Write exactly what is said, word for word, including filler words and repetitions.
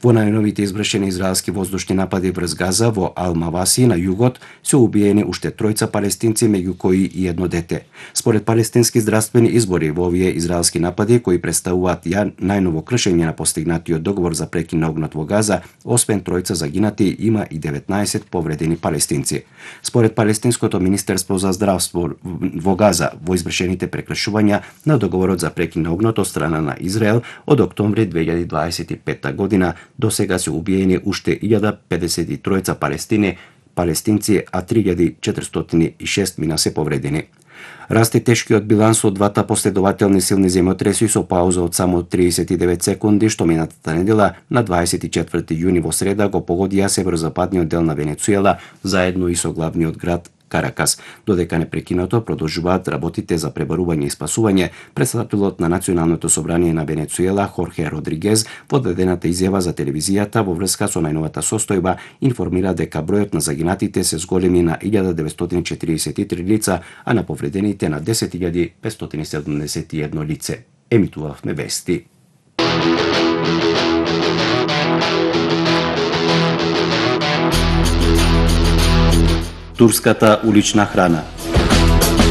Во најновите извршени израелски воздушни напади врз Газа во Ал-Маваси на југот се убиени уште тројца палестинци, меѓу кои и едно дете. Според палестински здравствени избори, во овие израелски напади кои представуваат ја најново кршење на постигнатиот договор за прекин на огнот во Газа, освен тројца загинати, има и деветнаесет повредени палестинци. Според палестинското министерство за здравство во Газа, во извршените прекршувања на договорот за прекин на огнот од страна на Израел од октомври две илјади дваесет и петта година до сега се убиени уште илјада педесет и тројца палестини, палестинци, а три илјади четиристотини и шест мина се повредени. Расте тешкиот биланс од двата последователни силни земјотреси со пауза од само триесет и девет секунди, што минатата недела на дваесет и четврти јуни во среда го погодија северозападниот дел на Венецуела, заедно и со главниот град Каракас. Додека непрекинато продолжуваат работите за пребарување и спасување, претставителот на Националното собрание на Венецуела Хорхе Родригез во дадената изјава за телевизијата во врска со најновата состојба информира дека бројот на загинатите се зголеми на илјада деветстотини четиридесет и три лица, а на повредените на десет илјади петстотини седумдесет и едно лице. Емитувавме вести. Турската улична храна.